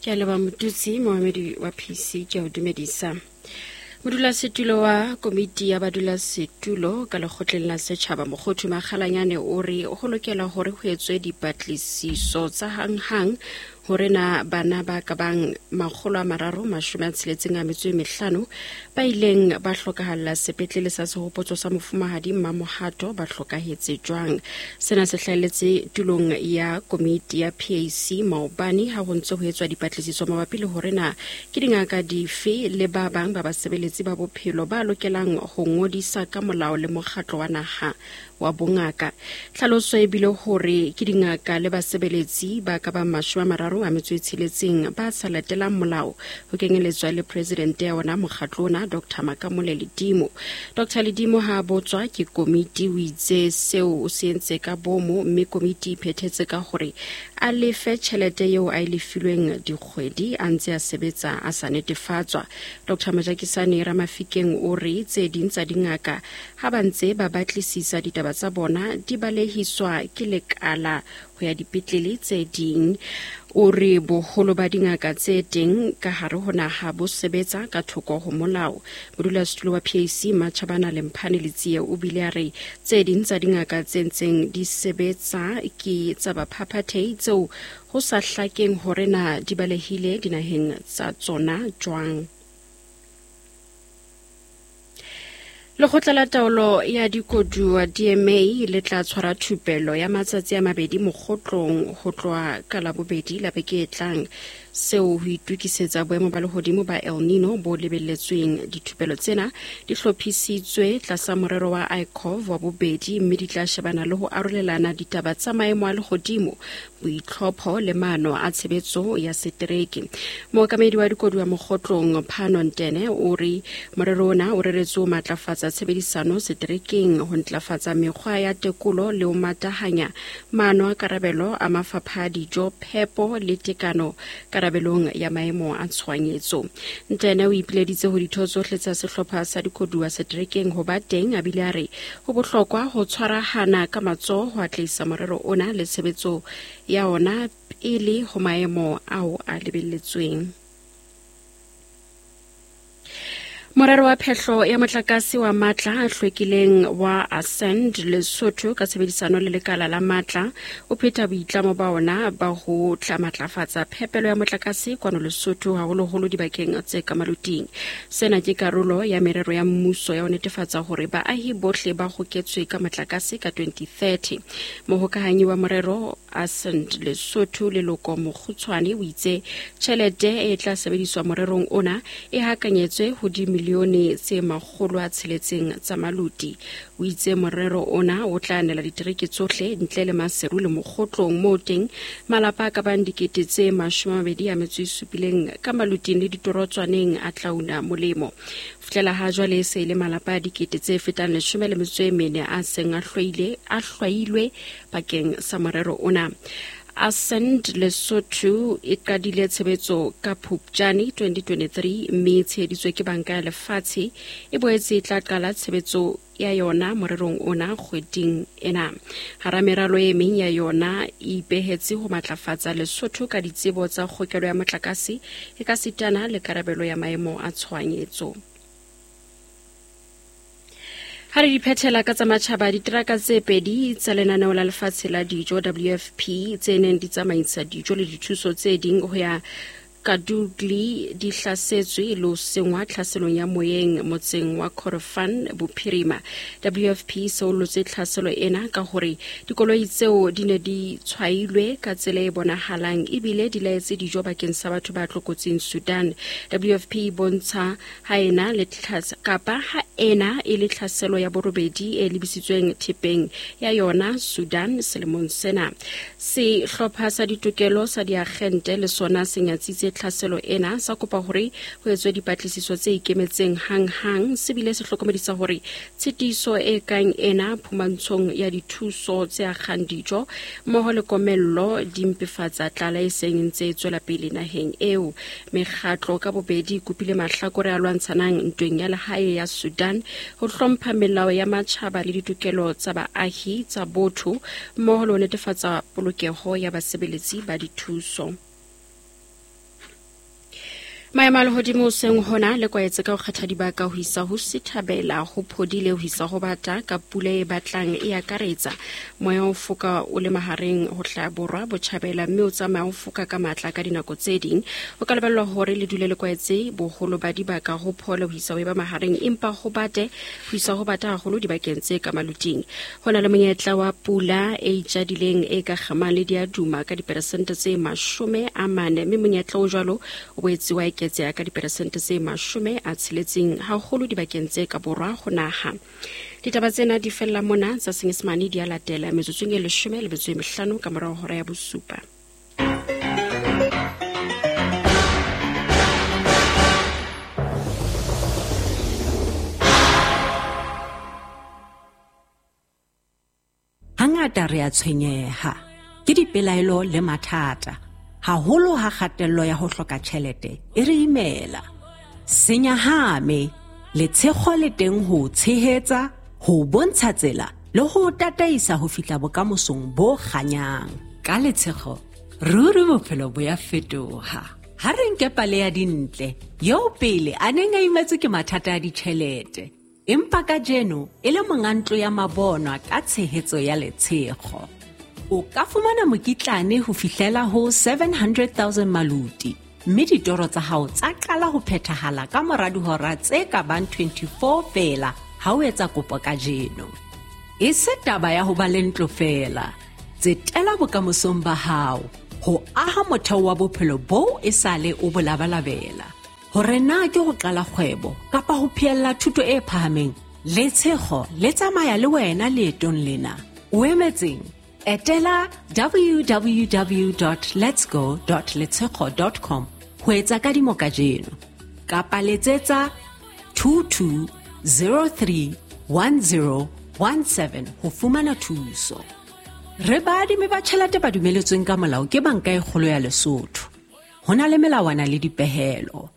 Ke a leboha Motutsi, moemedi wa PC, ke a o dumedisa. Modulasetulo wa komiti ya badulasetulo ka lekgotleng la setšhaba Mokgothu Makgalanyane o re go lokela gore go etswe dipatlisiso tsa hanghang gore na bana ba ka bang 365 ba ileng ba hlokahalla sepetlele sa sehopotso sa mofumahadi Mmamohato ba hlokahetse jwang. Sena se hlahelletse tulong ya komiti ya PAC maobane ha ho ntse ho etswa dipatlisiso mabapi le hore na ke dingaka dife le ba bang ba basebeletsi ba bophelo ba lokelang ho ngodisa ka molao le mokgatlo wa naha wa bongaka. Tlhaloso e bile hore ke dingaka le basebeletsi ba ka bang 36 ba sa latelang molao, ho kenyeletswa le presidente ya ona mokgatlo ona Dr. Makamole Ledimo. Dr. Ledimo ha a botswa ke komiti o itse seo o se entse ka bomo, mme komiti e phethetse ka hore a lefe tjhelete eo a e lefilweng dikgwedi a ntse a sebetsa a sa netefatswa. Dr. Majakisane Ramafikeng o re tse ding tsa dingaka ha ba ntse ba batlisisa ditaba tsa bona di balehiswa ke lekala ho ya dipetlele tse ding. O re boholo ba dingaka tse teng ka hare ho naha bo sebetsa ka thoko ho molao. Modulasetulo wa PAC Matjhabana Lemphane Letsie o bile a re tse ding tsa dingaka tse ntseng di sebetsa ke tsa baphaphathehi tseo ho sa hlakeng hore na di balehile dinaheng tsa tsona jwang. Lekgotla la taolo ya dikoduwa DMA le tla tshwara thupelo ya matsatsi a mabedi mokgotlong ho tloha ka Labobedi la beke e tlang, seo ho itokisetsa boemo ba lehodimo ba El Nino bo lebelletsweng. Dithupelo tsena di hlophisitswe tlasa morero wa ICOV wa bobedi mme di tla shebana le ho arolelana ditaba tsa maemo a lehodimo, boitlhopho le maano a tshebetso ya setereke. Mookamedi wa dikoduwa mokgotlong Phano Ntene o re morero ona o reretswe ho matlafatsa tshebedisano seterekeng, ho ntlafatsa mekgwa ya tekolo le ho matahanya maano a karabelo a mafapha a dijo, phepo le tekano karabelong ya maemo a tshohanyetso. Ntene o ipileditse ho ditho tsohle tsa sehlopha sa dikoduwa seterekeng ho ba teng, a bile a re ho bohlokwa ho tshwarahana ka matsoho ho atlehisa morero ona le tshebetso ya ona pele ho maemo ao a lebelletsweng. Morero wa phehlo ya motlakase wa matla a hlwekileng wa Ascend Lesotho ka tshebedisano le lekala la matla o pheta boitlamo ba ona ba ho tla matlafatsa phepelo ya motlakase kwano Lesotho, haholoholo dibakeng tse ka maloting. Sena ke karolo ya merero ya mmuso ya ho netefatsa hore baahi bohle ba hoketswe ka motlakase ka 2030. Mohokahanyi wa morero Ascend Lesotho Leloko Mokgutshwane o itse tjhelete e tla sebediswa morerong ona e hakanyetswe ho dimilione tse 600 tsa maluti. O itse morero ona o tla nela ditereke tsohle ntle le Maseru le Mokgotlong moo teng malapa a ka bang 27,000 ka maluting le ditorotswaneng a tla una molemo. Fihlela ha jwale e se e le malapa a dikete tse fetang 14 a seng a hlwailwe bakeng sa morero ona. Ascend Lesotho e qadile tshebetso ka Phupjane 2023 mme e tsheheditswe ke Banka ya Lefatshe. E boetse e tla qala tshebetso ya yona morerong ona kgweding ena. Hara meralo e meng ya yona e ipehetse ho matlafatsa Lesotho ka ditsebo tsa kgokelo ya motlakase e ka sitana le karabelo ya maemo a tshohanyetso. Ha re di phethela ka tsa matjhaba, diteraka tse pedi tsa lenaneo la lefatshe la dijo WFP tse neng di tsamaisa dijo le dithuso tse ding ho ya Kadugli di hlasetswe le ho sengwa tlhaselong ya moyeng motseng wa Kordofan bophirima. WFP seolotse tlhaselo ena ka hore dikoloi tseo di ne di tshwailwe ka tsela e bonahalang ebile di laetse dijo bakeng sa batho ba tlokotsing Sudan. WFP e bontsha ha ena le kapa ha ena e le tlhaselo ya borobedi e lebisitsweng thepeng ya yona Sudan selemong sena. Sehlopha sa ditokelo sa diagente le sona se nyatsitse tlhaselo ena, sa kopa hore ho etswe dipatlisiso tse ikemetseng hang-hang. Se bile se hlokomedisa hore tshitiso e kang ena phumantshong ya dithuso tse akgang dijo mmoho le komello di mpefatsa tlala e seng e ntse e tswela pele naheng eo. Mekgatlo ka bobedi e kopile mahlakore a lwantshanang ntweng ya lehae ya Sudan ho hlompha melao ya matjhaba le ditokelo tsa baahi tsa botho mmoho le ho netefatsa polokeho ya basebeletsi ba dithuso. Maemo a lehodimo hoseng hona le kwaetse ka ho kgetha dibaka ho isa ho sithabela ho phodile ho isa ho bata ka pula e batlang e akaretsa. Moya o foka o le mahareng ho hlaha borwa botjhabela mme o tsamaya o foka ka matla ka dinako tse ding. Ho ka lebellwa hore le dule le kwaetse boholo ba dibaka ho phole ho isa ho eba mahareng empa ho bate ho isa ho bata haholo dibakeng tse ka maluting. Ho na le monyetla wa pula e itjadileng e ka kgamang le diaduma ka diperesente tse 40 mme monyetla o jwalo o boetse wa eketseha ka diperesente tse 60 haholo dibakeng tse ka borwa ho naha. Ditaba tsena di fella mona tsa Senyesemane di a latela metsotsong e 15 ka morao hora ya bosupa. Hangata re a tshwenyeha ke dipelaelo le mathata, haholo ha kgatello ya ho hloka tjhelete e re imela. Senyahame, letshego le teng ho o tshehetsa, ho o bontsha tsela le ho o tataisa ho fihla bokamosong bo kganyang. Ka letshego, ruri bophelo bo ya fetoha. Ha re nke pale ya Dintle, eo pele a neng a imetswe ke mathata a ditjhelete, empa kajeno e le monga ntlo ya mabonwa ka tshehetso ya letshego. O ka fumana mokitlane ho fihlela ho 700,000 maluti, mme ditoro tsa hao tsa qala ho phethahala ka mora dihora tse ka bang 24 feela ha o etsa kopo kajeno. E se taba ya ho ba le ntlo feela, tsetela bokamosong ba hao ho aha motheo wa bophelo boo e sale o bo labalabela. Hore na ke ho qala kgwebo kapa ho phehella thuto e phahameng, letshego le tsamaya le wena leetong lena. O emetseng? Etela www.letsgo.letshego.com ho etsa kadimo kajeno kapa letsetsa 22031017 ho fumana thuso. Re baadimi ba tjhelete ba dumeletsweng ka molao ke Banka e Kgolo ya Lesotho. Ho na le melawana le dipehelo.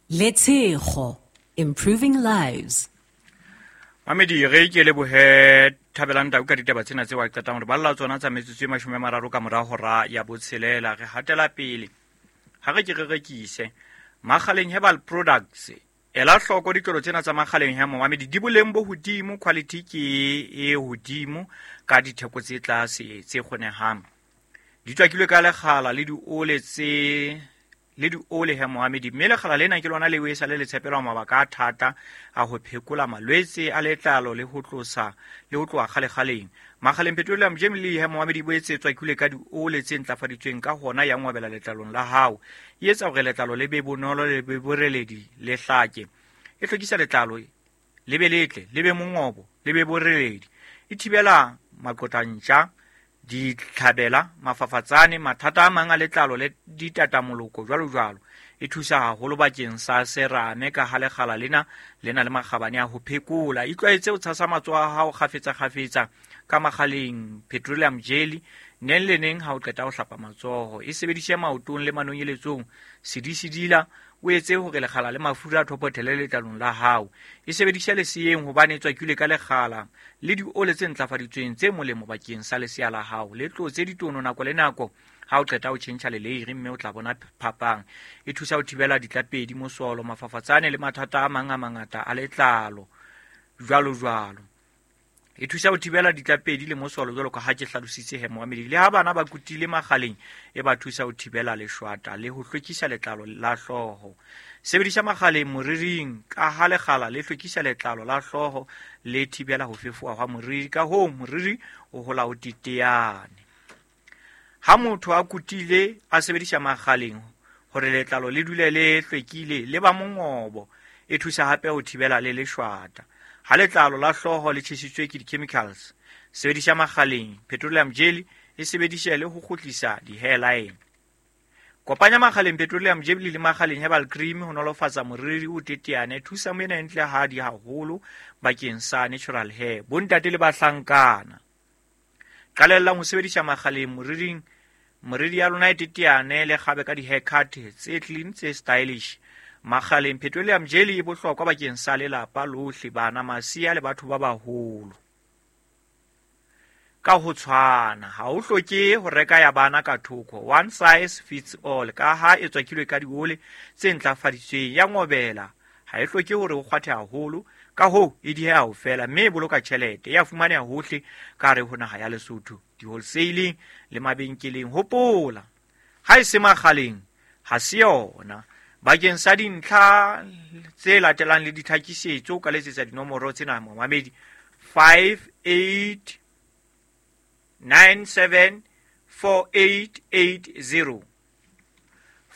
Letshego, improving lives. Mamedi, re ke lebohe Thabelang Tau ka ditaba tsena tseo a qetang hore balla tsona tsa metsotso e 30 ka mora hora ya botshelela. Re hatela pele. Ha re ke re rekise Makgaleng Herbal Products. Ela hloko ditlolo tsena tsa Makgaleng Herbal Mamedi, di boleng bo hodimo, quality ke e hodimo ka ditheko tse tlase tse kgonehang. Di tswakilwe ka lekgala le diole tse le diole he Mohamedi, mme lekgala lena ke lona leo e sa le le tshepelwa mabaka a thata a ho phekola malwetse a letlalo le ho tlosa le ho tloha kgalekgaleng. Makgaleng Petroleum Jelly he Mohamedi bo etse tswakilwe ka diole tse ntlafaditsweng ka hona ya ngwabela letlalong la hao. E etsa hore letlalo le be bonolo le be boreledi le hlake. E hlwekisa letlalo le be letle, le be mongobo, le be boreledi. E thibela maqotantja, ditlhabela, mafafatsane, mathata a mang a letlalo le ditatamoloko jwalo jwalo. E thusa haholo bakeng sa serame ka ha lekgala lena le na le makgabane a ho phekola. Itlwaetse ho tshasa matsoho a hao kgafetsa kgafetsa ka Makgaleng Petroleum Jelly neng le neng ha o qeta ho hlapa matsoho. E sebedise maotong le manonyeletsong, sedisedila, o etse hore lekgala le mafura a thopothele letlalong la hao. E sebedise leseyeng hobane e tswakilwe ka lekgala le diole tse ntlafaditsweng tse molemo bakeng sa lesea la hao. Le tlotse ditono nako le nako ha o qeta ho tjhentjha leleiri, mme o tla bona phapang. E thusa ho thibela ditlapedi, mosolo, mafafatsane le mathata a mang a mangata a letlalo jwalo jwalo. E thusa ho thibela ditlapedi le mosolo jwalo ka ha ke hlalositse he Mohamedi. Le ha bana ba kutile Makgaleng, e ba thusa ho thibela leshwata le ho hlwekisa letlalo la hlooho. Sebedisa Makgaleng moriring ka ha lekgala le hlwekisa letlalo la hlooho le thibela ho fefoha hwa moriri, ka hoo moriri o hola o teteane. Ha motho a kutile a sebedisa Makgaleng hore letlalo le dule le hlwekile le ba mongobo, e thusa hape ho thibela le leshwata. Ha letlalo la hlooho le tjhesitswe ke di-chemicals, sebedisa Makgaleng Petroleum Jelly e sebedise le ho kgutlisa di-hairline. Kopanya Makgaleng Petroleum Jelly le Makgaleng Herbal Cream ho nolofatsa moriri o teteane. Thusa moena e ntle hadi haholo bakeng sa natural hair. Bontate le bahlankana, qalellang ho sebedisa Makgaleng moriring. Moriri ya lona e teteane le kgabe ka di-haircut tse clean tse stylish. Makgaleng Petroleum Jelly e bohlokwa bakeng sa lelapa lohle, bana, masea le batho ba baholo. ka ho tshwana. Ha o hloke ho reka ya bana ka thoko, one size fits all, ka ha e tswakilwe ka diole tse ntlafaditsweng. Ya ngobela ha e hloke hore o kgwathe haholo, ka hoo e dieha ho fela, mme e boloka tjhelete. E a fumaneha hohle ka hare ho naha ya Lesotho, di-wholesaling le mabenkeleng. Hopola, ha e se makgaleng ha se yona. Bakeng sa dintlha tse latelang le ditlhakisetso, o ka letsetsa dinomoro tsena momamedi: 58 97 4880,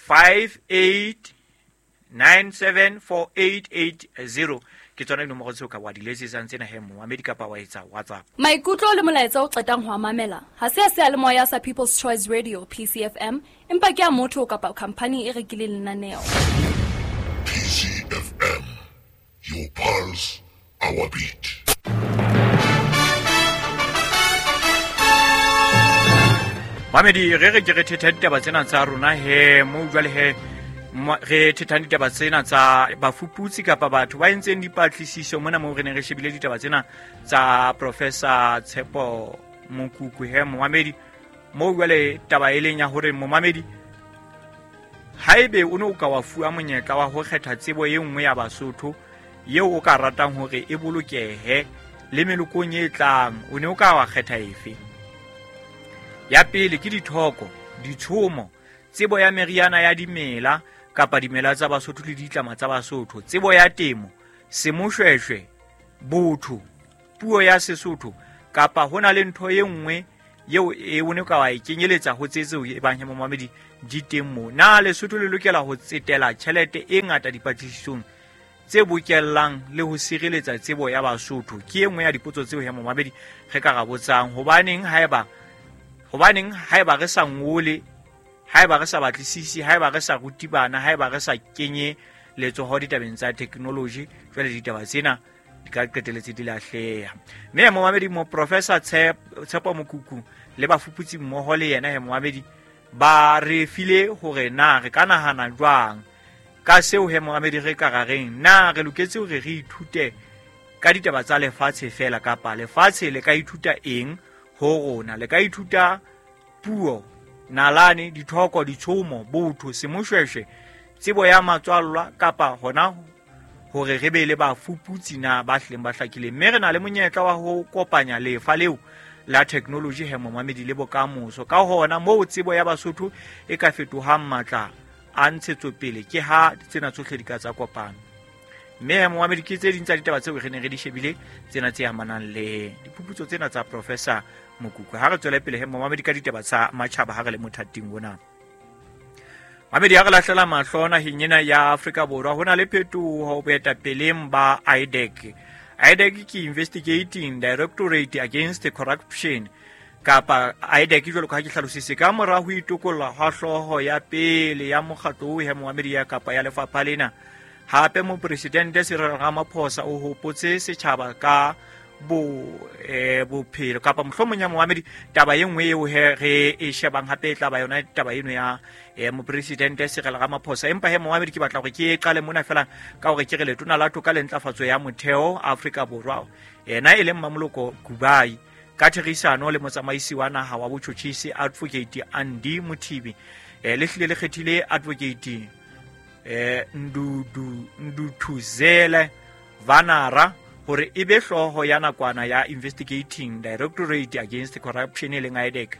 58 97 4880. Ke tsona dinomoro tseo ka wa di letsetsang tsena he momamedi, kapa wa etsa WhatsApp. Maikutlo le molaetsa o qetang ho a mamela ha se a seyalemoya sa People's Choice Radio, PCFM, empa ke a motho kapa khamphani e rekileng lenaneo. PCFM, your pulse, our beat. Mamedi, re re ke re thetha ditaba tsena tsa rona he mo jwale he re thethang ditaba tsena tsa bafuputsi kapa batho ba entseng dipatlisiso mona moo re neng re shebile ditaba tsena tsa Professor Tshepo Mokuku he momamedi. Moo jwale taba e leng ya hore momamedi, haebe o ne o ka wa fuwa monyetla wa ho kgetha tsebo e nngwe ya Basotho eo o ka ratang hore e bolokehe le melokong e tlang, o ne o ka wa kgetha efe? Ya pele ke dithoko, ditshomo, tsebo ya meriana ya dimela kapa dimela tsa Basotho le ditlama tsa Basotho, tsebo ya temo, semoshweshwe, botho, puo ya Sesotho, kapa ho na le ntho e nngwe eo e o ne ka wa e kenyeletsa ho tse tseo e bang he momamedi di teng moo. Na Lesotho le lokela ho tsetela tjhelete e ngata dipatlisisong tse bokellang le ho sireletsa tsebo ya Basotho? Ke e nngwe ya dipotso tseo he momamedi re ka ra botsang. Hobaneng haeba re sa ngole, haeba re sa batlisisi, haeba re sa rute bana, haeba re sa kenye letsoho ditabeng tsa technology, jwale ditaba tsena di ka qeteletse di lahleha. Mme momamedi, mo Professor Tshepo Mokuku le bafuputsi mmoho le yena he momamedi ba re file hore na re ka nahana jwang ka seo he momamedi. Re ka ra reng? Na re loketse hore re ithute ka ditaba tsa lefatshe fela, kapa lefatshe le ka ithuta eng ho rona? Le ka ithuta puo, nalane, dithoko, ditshomo, botho, semoshweshwe, tsebo ya matswallwa, kapa hona hore re be le bafuputsi na ba hlileng ba hlakileng? Mme re na le monyetla wa ho kopanya lefa leo la technology he momamedi le bokamoso. Ka hona moo tsebo ya Basotho e ka fetohang matla a ntshetsopele ke ha tsena tsohle di ka tsa kopano. Mme he momamedi, ke tse ding tsa ditaba tseo re neng re di shebile tsena tse amanang le diphuputso tsena tsa Professor Mokuku. Ha re tswele pele he momamedi ka ditaba tsa matjhaba ha re le mothating ona. Mamedi, ha re lahlela mahlo naheng ena ya Afrika Borwa, ho na le phetoho boetapeleng ba IDAC. IDAC ke Investigating Directorate Against Corruption, kapa IDAC jwalo ka ha ke hlalositse. Ka mora ho itokolla hwa hlooho ya pele ya mokgatlo o he momamedi ya kapa ya lefapha lena, hape Mopresidente Cyril Ramaphosa o hopotse setjhaba ka bo bophelo kapa mohlomong ya momamedi. Taba e nngwe eo he re e shebang hape e tla ba yona taba eno ya Mopresidente Cyril Ramaphosa. Empa he momamedi, ke batla hore ke e qale mona fela ka hore ke re letona la toka le ntlafatso ya motheo Afrika Borwa, yena e leng Mamoloko Kubai, ka therisano le motsamaisi wa naha wa botjhotjhisi, Advocate Andy Mothibi, le hlile le kgethile Advocate Ndudu Nduthuzele Vanara hore e be hlooho ya nakwana ya Investigating Directorate Against Corruption, e leng IDAC.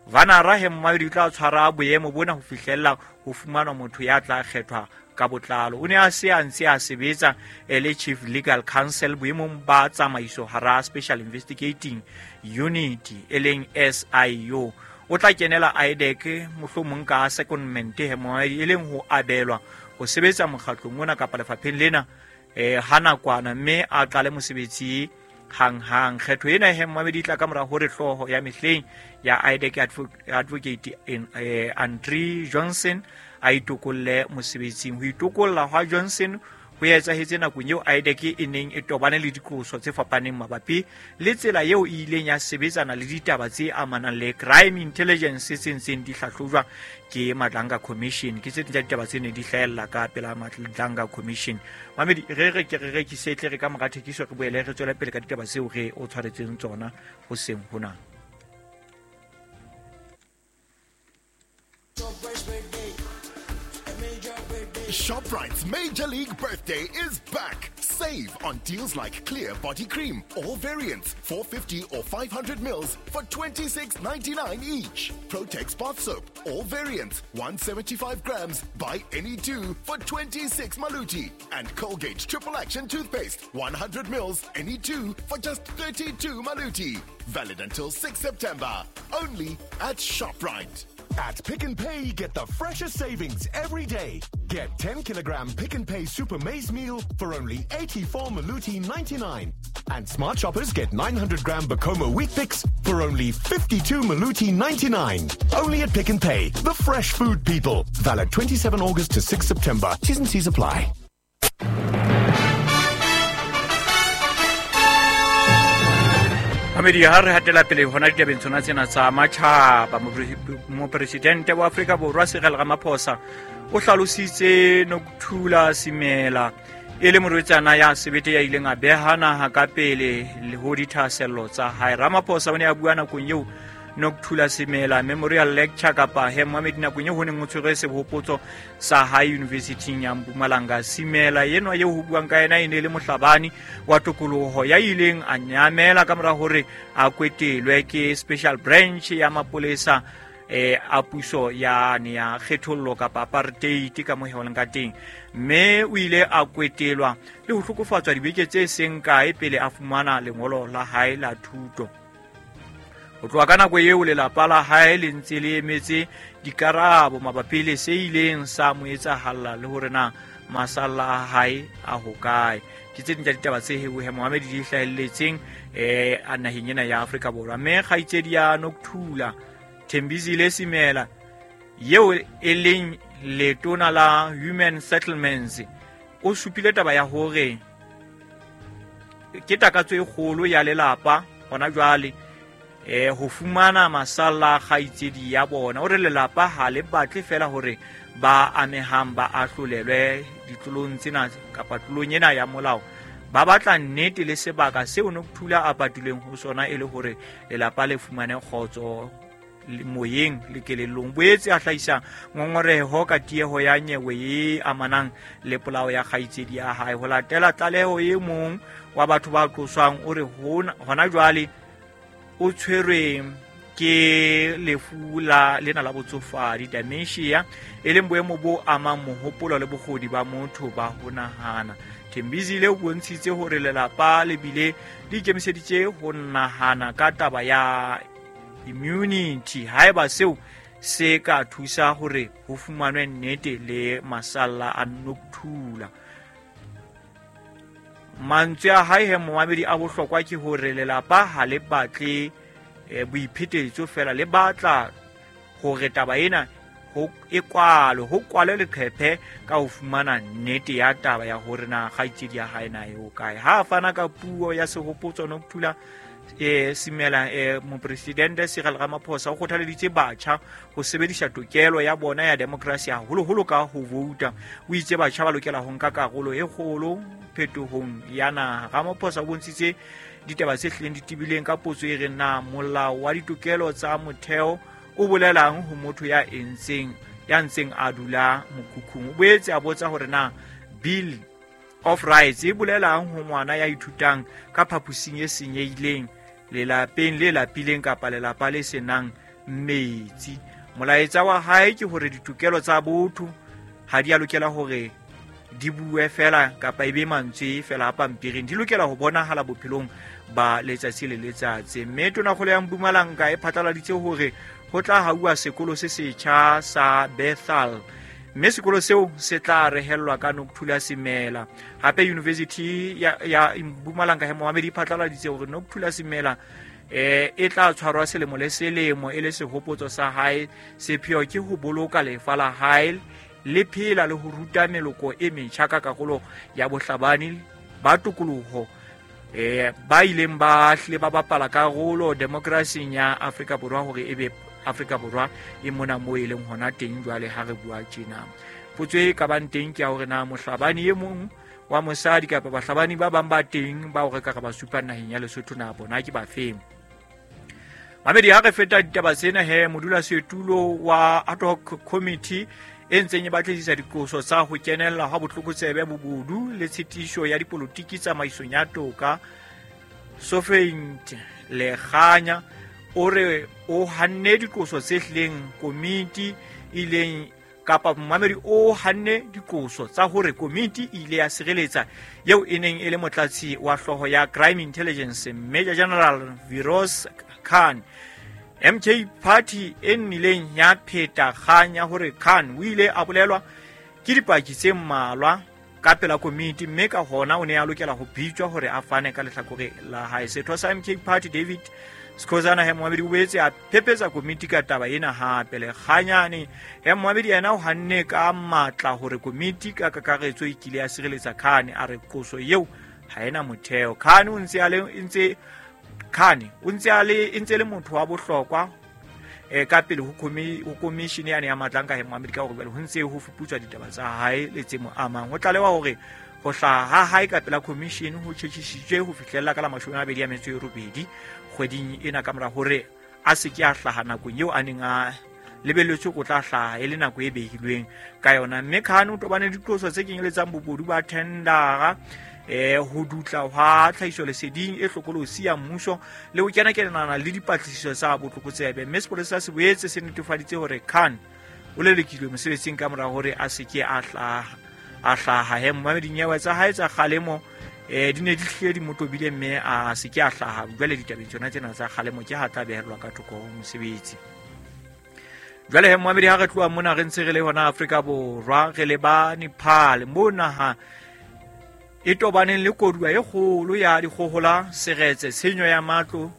Vanara he momamedi o tla tshwara boemo bona ho fihlella ho fumanwa motho ya tla kgethwa ka botlalo. O ne a se a ntse a sebetsa e le chief legal counsel boemong ba tsamaiso hara Special Investigating Unit, e leng SIU. O tla kenela IDAC mohlomong ka secondment he momamedi, e leng ho abelwa ho sebetsa mokgatlong ona kapa lefapheng lena ha nakwana, mme a qale mosebetsi hang-hang. Kgetho ena he momamedi e tla ka mora hore hlooho ya mehleng ya IDAC, Advocate Andre Johnson, a itokolle mosebetsing. Ho itokolla hwa Johnson ho etsahetse nakong eo IDAC e neng e tobane le diqoso tse fapaneng mabapi le tsela eo e ileng ya sebetsana le ditaba tse amanang le crime intelligence tse ntseng di hlahlojwa ke Madlanga Commission. Ke tse ding tsa ditaba tse neng di hlahella ka pela Madlanga Commission. Mamedi, re re ke re rekise, tle re ka mora thekiso re boele re tswele pele ka ditaba tseo re o tshwaretseng tsona hoseng hona. ShopRite's Major League Birthday is back. Save on deals like Clear Body Cream, all variants, 450 or 500 mils for $26.99 each. Protex Bath Soap, all variants, 175 grams, buy any two for 26 maluti. And Colgate Triple Action Toothpaste, 100 mils, any two for just 32 maluti. Valid until 6 September. Only at ShopRite. At Pick n Pay, get the freshest savings every day. Get 10 kilogram Pick n Pay Super Maize Meal for only 84 Maluti 99. And smart shoppers get 900 gram Bacoma Wheat Fix for only 52 Maluti 99. Only at Pick n Pay, the fresh food people. Valid 27 August to 6 September. T's and C's apply. Mamedi, ha re hatela pele hona ditabeng tsona tsena tsa matjhaba, mopresidente wa Afrika Borwa Cyril Ramaphosa o hlalositse Nokuthula Simela e le morwetsana ya sebete ya ileng a beha naha ka pele le ho dithahasello tsa hae. Ramaphosa o ne a bua nakong eo Nokuthula Simela Memorial Lecture kapa he Mohammed nakong eo ho neng ho tshwerwe sehopotso sa hae University ya Mpumalanga. Simela enwa eo ho buang ka yena e ne le mohlabani wa tokoloho ya ileng a nyamela ka mora hore a kwetelwe ke special branch ya mapolesa a puso ya ne ya kgethollo kapa apartheid ka mo heoleng ka teng, mme o ile a kwetelwa le ho hlokofatswa dibeke tse seng kae pele a fumana lengolo la hae la thuto. Ho tloha ka nako eo lelapa la hae le ntse le emetse dikarabo mabapi le se ileng sa mo etsahalla le hore na masalla a hae a hokae. Ke tse ding tsa ditaba tse heohe Mohammed di hlahelletseng a naheng ena ya Afrika Borwa. Mme kgaitsedi ya Nokuthula Thembisile Simela eo e leng letona la Human Settlements o supile taba ya hore ke takatso e kgolo ya lelapa hona jwale ho fumana masalla kgaitsedi ya bona. O re lelapa ha le batle fela hore ba amehang ba ahlolelwe ditlolong tsena kapa tlolong ena ya molao, ba batla nnete le sebaka seo Nokuthula a patilweng ho sona e le hore lelapa le fumane kgotso moyeng le kelellong. Boetse a hlahisa ngongoreho ka tieho ya nyewe e amanang le polao ya kgaitsedi ya hae. Ho latela tlaleho e mong wa batho ba qoswang o re hona jwale o tshwerwe ke lefu la lena la botsofadi, dementia, e leng boemo bo amang mohopolo le bokgoni ba motho ba ho nahana. Thembisile o bontshitse hore lelapa le bile le ikemiseditse ho nahana ka taba ya immunity haeba seo se ka thusa hore ho fumanwe nnete le masalla a Nokuthula. Mantswe a hae he momamedi a bohlokwa ke hore lelapa ha le batle boiphetetso fela, le batla hore taba ena ho e kwalwe, ho kwalwe leqephe ka ho fumana nnete ya taba ya hore na kgaitsedi ya hae na e hokae. Ha a fana ka puo ya sehopotso Nokuthula Simela, mopresidente Cyril Ramaphosa o kgothaleditse batjha ho sebedisa tokelo ya bona ya demokrasi haholoholo ka ho vouta. O itse batjha ba lokela ho nka karolo e kgolo phetohong ya naha. Ramaphosa o bontshitse ditaba tse hlileng di tebileng ka potso e reng na molao wa ditokelo tsa motheo o bolelang ho motho ya ntseng a dula mokhukhung. O boetse a botsa hore na Bill of Rights e bolelang ho ngwana ya ithutang ka phaposing e senyehileng lelapeng le lapileng kapa lelapa le senang metsi. Molaetsa wa hae ke hore ditokelo tsa botho ha di a lokela hore di bue fela kapa ebe mantswe fela a pampiring, di lokela ho bonahala bophelong ba letsatsi le letsatsi. Mme tonakgolo ya Mpumalanga e phatlaladitse hore ho tla hauwa sekolo se setjha sa Bethal, mme sekolo seo se tla rehellwa ka Nokuthula Simela. Hape University ya Mpumalanga he Mohammed e phatlaladitse hore Nokuthula Simela e tla tshwarwa selemo le selemo e le sehopotso sa hae. Sepheo ke ho boloka lefa la hae le phela le ho ruta meloko e metjha ka karolo ya bohlabani ba tokoloho ba ileng ba hlile ba bapala karolo demokrasing ya Afrika Borwa hore ebe Afrika Borwa e mona moo e leng hona teng jwale ha re bua tjena. Potso e ka bang teng ke ya hore na mohlabani e mong wa mosadi kapa bahlabani ba bang ba teng bao re ka re ba supa naheng ya Lesotho na bona ke ba feng. Mamedi, ha re feta ditaba tsena he, modulasetulo wa ad hoc committee e ntseng e batlisisa diqoso tsa ho kenella ha botlokotsebe, bobodu le tshitiso ya dipolotiki tsamaisong ya toka, Sophient Lekganya, o re o hanne diqoso tse hlileng komiti ileng kapa momamedi o hanne diqoso tsa hore komiti e ile ya sireletsa eo e neng e le motlatsi wa hlooho ya Crime Intelligence, Major General Firoz Khan. MK Party e nnileng ya pheta kgang ya hore Khan o ile a bolelwa ke dipaki tse mmalwa ka pela komiti, mme ka hona o ne a lokela ho bitswa hore a fane ka lehlakore la hae. Setho sa MK Party David Skhosana he moamedi o boetse a phephetsa komiti ka taba ena hape. Lekganyane he moamedi yena o hanne ka matla hore komiti ka kakaretso e kile ya sireletsa Khan, a re qoso eo ha ena motheo. Khan o ntse a le ntse Khan o ntse a le ntse le motho wa bohlokwa ka pele ho commission yane ya matlanka he moamedi, ka hore jwale ho ntse ho fuputswa ditaba tsa hae le tse mo amang. Ho tlalewa hore ho hlaha ha hae ka pela commission ho tjhetjhisitswe ho fihlella ka la 28 kgweding ena, ka mora hore a se ke a hlaha nakong eo a neng a lebelletswe go tla hlaha e le nako e behilweng ka yona. Mme Khan o tobane le diqoso tse kenyeletsang bobodu ba thendara, ho dutla hwa tlhahisoleseding e hlokolosi ya mmuso le ho kena-kenana le dipatlisiso tsa botlokotsebe. Mme sepolesa se boetse se netefaditse hore Khan o lelekilwe mosebetsing ka mora hore a se ke a hlaha he momamedi. Dinyewe tsa hae tsa kgalemo di ne di hlile di mo tobile, mme a se ke a hlaha. Jwale ditabeng tsona tsena tsa kgalemo ke ha tla behelwa ka thoko ho mosebetsi. Jwale he momamedi, ha re tloha mona re ntse re le hona Afrika Borwa, re le ba Nepal, mo naha e tobaneng le koduwa e kgolo ya dikgohola, seretse, tshenyo ya matlo.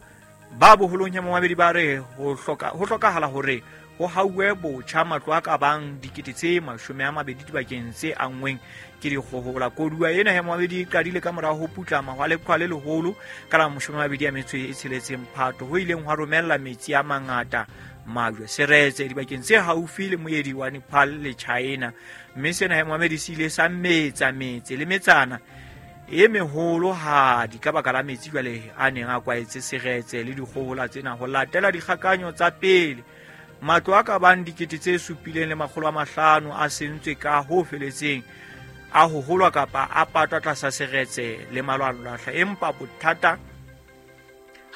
Ba boholong he momamedi ba re ho hlokahala hore ho hauwe botjha matlo a ka bang 20,000 dibakeng tse anngweng ke dikgohola. Koduwa ena he momamedi e qadile ka mora ho putlama hwa leqhwa le leholo ka la 26 Phato, ho ileng hwa romella metsi a mangata, majwe, seretse dibakeng tse haufi le moedi wa Nepal le China. Mme sena he momamedi se ile sa metsa metse le metsana e meholohadi ka baka la metsi jwale a neng a kwaetse seretse le dikgohola tsena. Ho latela dikgakanyo tsa pele, matlo a ka bang 7,500 a sentswe ka ho feletseng, a hoholwa kapa a patwa tlasa seretse le malwanlwahla. Empa bothata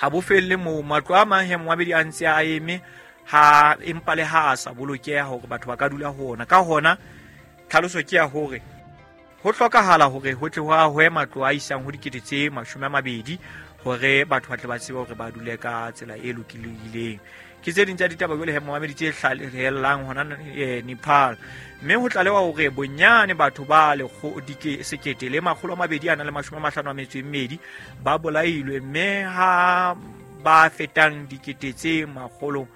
ha bo felle moo. Matlo a mang he momamedi a ntse a eme ha empa le ha a sa bolokeha hore batho ba ka dula ho ona. Ka hona tlhaloso ke ya hore ho hlokahala hore ho tle ho ahwe matlo a isang ho 20,000 hore batho ba tle ba tsebe hore ba dule ka tsela e lokileng. Ke tse ding tsa ditaba jwale he momamedi tse hlahellang hona Nepal. Mme ho tlalewa hore bonyane batho ba 1,252 ba bolailwe, mme ha ba fetang 4,200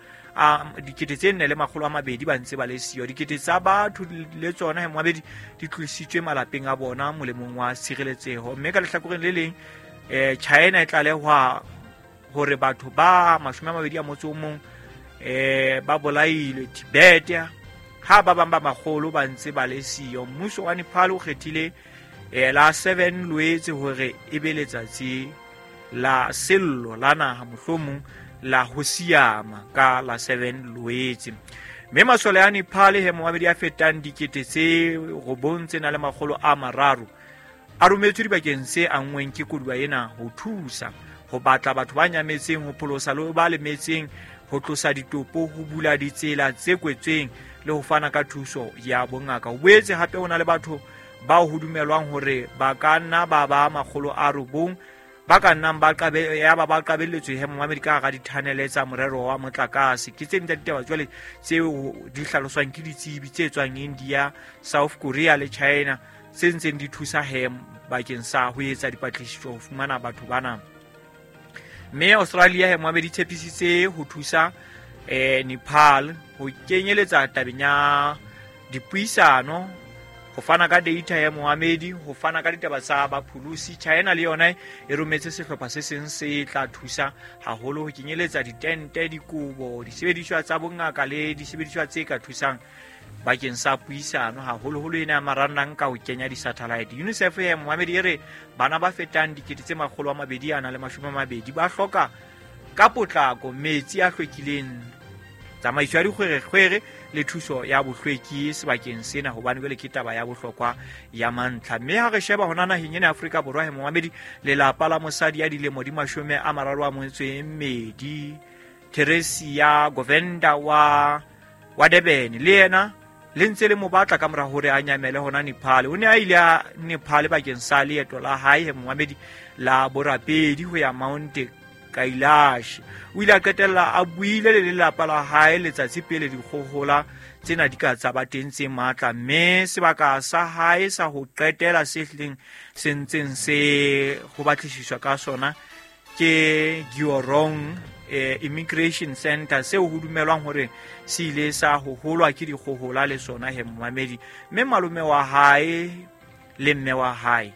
ba ntse ba le siyo. Dikete tsa batho le tsona he momamedi di tlositswe malapeng a bona molemong wa tshireletseho. Mme ka lehlakoreng le leng, China e tlalehwa hore batho ba 21 ba bolailwe Tibet, ha ba bang ba makgolo ba ntse ba le siyo. Mmuso wa Nepal o kgethile la 7 Loetse hore e be letsatsi la sello la naha, mohlomong la ho siama ka la 7 Loetse. Mme masole a Nepal he momamedi a fetang 9,300 a rometswe dibakeng tse anngweng ke koduwa ena ho thusa ho batla batho ba nyametseng, ho pholosa le ba lemetseng, ho tlosa ditopo, ho bula ditsela tse kwetsweng le ho fana ka thuso ya bongaka. Ho boetse hape ho na le batho bao ho dumelwang hore ba ka nna ba ba 900 ba ka nnang ba qabelletswe he momamedi ka hara dithanele tsa morero wa motlakase. Ke tse ding tsa ditaba jwale tseo di hlaloswang ke ditsebi tse tswang India, South Korea le China, tse ntseng di thusa he bakeng sa ho etsa dipatlisiso ho fumana batho bana. Mme Australia he momamedi tshepisitse ho thusa Nepal ho kenyeletsa tabeng ya dipuisano, ho fana ka data ya momamedi, ho fana ka ditaba tsa bapholosi. China le yona e rometse sehlopha se seng se tla thusa haholo ho kenyeletsa ditente, dikobo, disebediswa tsa bongaka le disebediswa tse ka thusang bakeng sa puisano, haholoholo ena ya marangrang ka ho kenya di-satellite. UNICEF ya momamedi e re bana ba fetang 220 ba hloka ka potlako metsi a hlwekileng, tsamaiso ya dikgwerekgwere le thuso ya bohlweki sebakeng sena, hobane jwale ke taba ya bohlokwa ya mantlha. Mme ha re sheba hona naheng ena ya Afrika Borwa, he momamedi, lelapa la mosadi ya dilemo di 32 Teresia Govenda wa Durban le yena le ntse le mo batla ka mora hore a nyamele hona Nepal. O ne a ile a Nepal bakeng sa leeto la hae, he momamedi, la borapedi ho ya Mount Kailash. O ile a qetella a buile le lelapa la hae letsatsi pele dikgohola tsena di ka tsa ba teng tse matla, mme sebaka sa hae sa ho qetela se hlileng se ntseng se ho batlisiswa ka sona ke Giorong Immigration Center, seo ho dumelwang hore se ile sa hoholwa ke dikgohola le sona, he momamedi. Mme malome wa hae le mme wa hae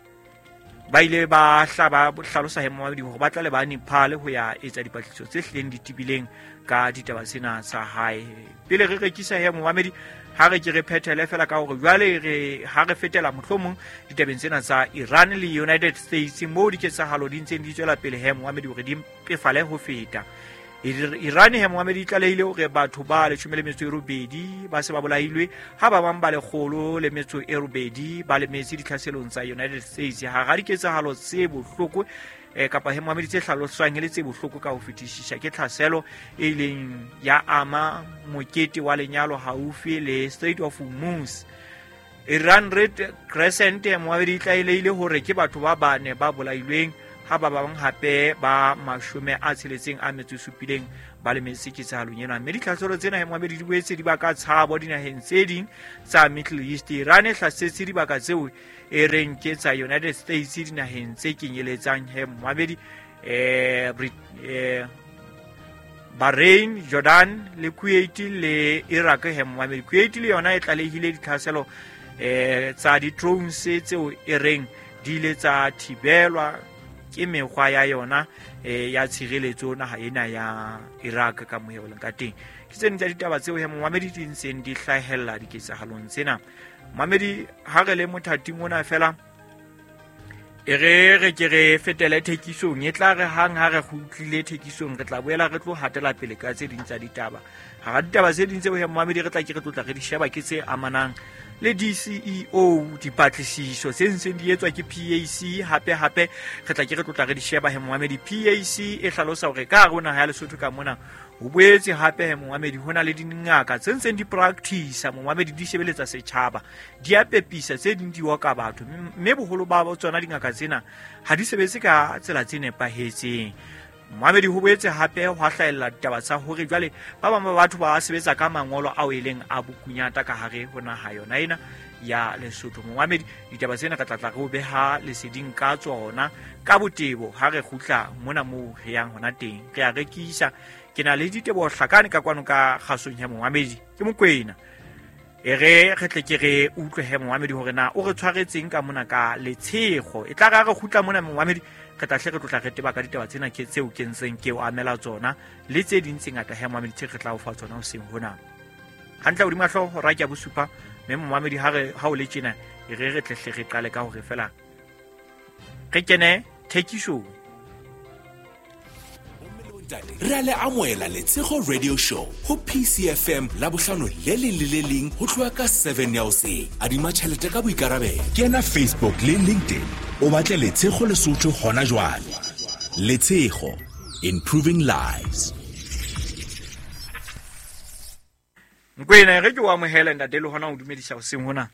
ba ile ba hlalosa he momamedi hore ba tla le ba Nepal ho ya etsa dipatlisiso tse hlileng di tebileng ka ditaba tsena tsa hae. Pele re rekisa he momamedi, ha re ke re phethele fela ka hore jwale re ha re fetela mohlomong ditabeng tsena tsa Iran le United States, moo diketsahalo di ntseng di tswela pele he momamedi hore di mpefale ho feta. Iran he momamedi e tlalehile hore batho ba 18 ba se ba bolailwe, ha ba bang ba 108 ba lemetse ditlhaselong tsa United States. Hara diketsahalo tse bohloko kapa he momamedi tse hlaloswang e le tse bohloko ka ho fetisisa ke tlhaselo e ileng ya ama mokete wa lenyalo haufi le Strait of Hormuz. Iran Red Crescent momamedi e tlalehile hore ke batho ba bane ba bolailweng, ha ba bang hape ba 67 ba lemetse ketsahalong ena. Mme ditlhaselo tsena he momamedi di boetse di baka tshabo dinaheng tse ding tsa Middle East. Iran e hlasetse dibaka tseo e reng ke tsa United States dinaheng tse kenyeletsang he momamedi Bahrain, Jordan le Kuwait le Iraq. He momamedi, Kuwait le yona e tlalehile ditlhaselo tsa di-drones tseo e reng di ile tsa thibelwa ke mekgwa ya yona ya tshireletso naha ena ya Iraq ka moya leng ka teng. Ke tse ding tsa ditaba tseo he momamedi di ntseng di hlahella diketsahalong tsena. Momamedi, ha re le mothating ona fela e re ke re fetele thekisong, e tla re hang ha re kgutlile thekisong re tla boela re tlo hatela pele ka tse ding tsa ditaba. Hara ditaba tse ding tseo he momamedi re tla ke re tlotla re di sheba ke tse amanang le DCEO, dipatlisiso tse ntseng di etswa ke PAC. Hape hape re tla ke re tlotla re di sheba he momamedi. PAC e hlalosa hore ka hare ho naha ya Lesotho ka mona ho boetse hape he momamedi ho na le dingaka tse ntseng di practice momamedi, di shebeletsa setjhaba, di a pepisa, tse ding di oka batho, mme boholo ba tsona dingaka tsena ha di sebetse ka tsela tse nepahetseng. Momamedi, ho boetse hape ho hlahella ditaba tsa hore jwale ba bang ba batho ba sebetsa ka mangolo ao e leng a bokunyata ka hare ho naha yona ena ya Lesotho. Momamedi, ditaba tsena re tla tla re o beha leseding ka tsona ka botebo ha re kgutla mona moo re yang hona teng. Re a rekisa. Ke na le diteboho hlakane ka kwano ka kgasong ya momamedi, ke Mokwena. E re re tle ke re utlwe he momamedi hore na o re tshwaretseng ka mona ka letshego. E tla re ha re kgutla mona momamedi, re tla hle re tlotla re teba ka ditaba tsena ke tseo ke ntseng ke o amela tsona le tse ding tse ngata he momamedi tse re tla o fa tsona hoseng hona. Hantle hodima hlooho hora ke ya bosupa, mme momamedi ha re ha o le tjena e re re tle hle re qale ka hore fela re kene thekisong. Re a le amohela Letshego Radio Show ho PCFM la bohlano le leng le le leng ho tloha ka 7 ya hoseng. Adima tjhelete ka boikarabelo. Kena Facebook le LinkedIn o batle Letshego Lesotho hona jwale. Letshego, improving lives. Nkwena re ke o amohela ntate le hona o dumedisa hoseng hona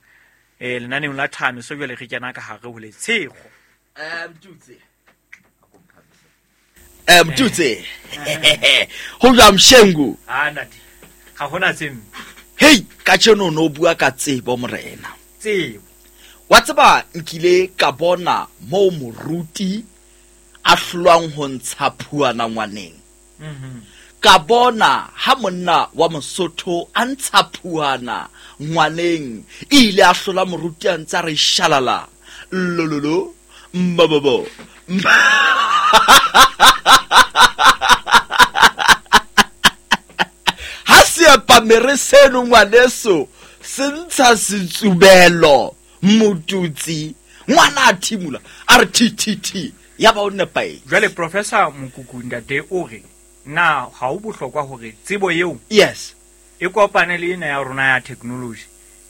lenaneong la Thami so jwale re kena ka hare ho Letshego. Mtutse Mtutse ho jwa Mshengu. Ah ntate, ha hona tse mpe. Hey, ka tjeno no bua ka tsebo morena. Tsebo. Wa tseba nkile ka bona mo moruti a hlolwang ho ntsha phuana ngwaneng. Ka bona ha monna wa Mosotho a ntsha phuana ngwaneng, ile a hlola moruti a ntsa re shalala. Lololo mbobobo. Ha seapamere seno ngwaneso se ntsha setsubelo motutsi, ngwana a thimula a re thi thi thi, ya ba o nepaetse. Jwale Professor Mokuku ntate o re Na ha o bohlokwa hore tsebo eo yes e kopane le ena ya rona ya technology,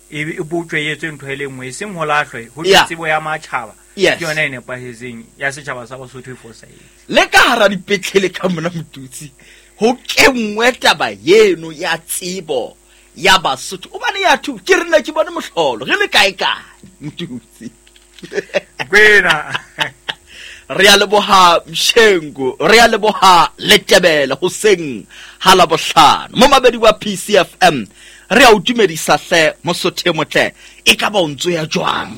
e botjwe e etswe ntho e le nngwe, e seng ho lahlwe ho tsebo ya matjhaba. Yes. Ke yona e nepahetseng ya setjhaba sa Basotho e fosahetse. Le ka hara dipetlele ka mona Motutsi, ho kenngwe taba eno ya tsebo ya Basotho. Hobane ya thu ke re nna ke bone mohlolo re le kae kae Motutsi. Kwena. Re a leboha Mshengu, re a leboha Letebele hoseng ha Labohlano. Momamedi wa PCFM, re a o dumedisa hle Mosotho e motle, e ka ba o ntso ya jwang?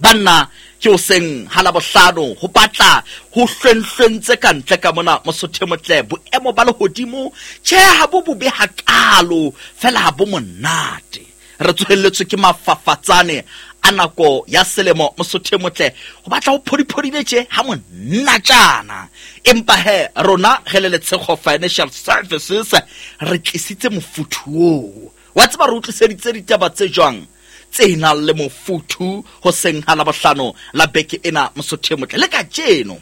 Banna ke hoseng ha Labohlano, ho batla ho hlwenhlwentse ka ntle ka mona Mosotho e motle. Boemo ba lehodimo tjhe ha bo bobe hakalo, fela ha bo monate. Re tsohelletswe ke mafafatsane a nako ya selemo Mosotho e motle, ho batla ho phodiphodile tje ha monatjana. Empa he rona re le Letshego Financial Services re tlisitse mofuthu oo. Wa tseba re utlwiseditse ditaba tse jwang tse nang le mofuthu hoseng ha Labohlano la beke ena Mosotho e motle. Le kajeno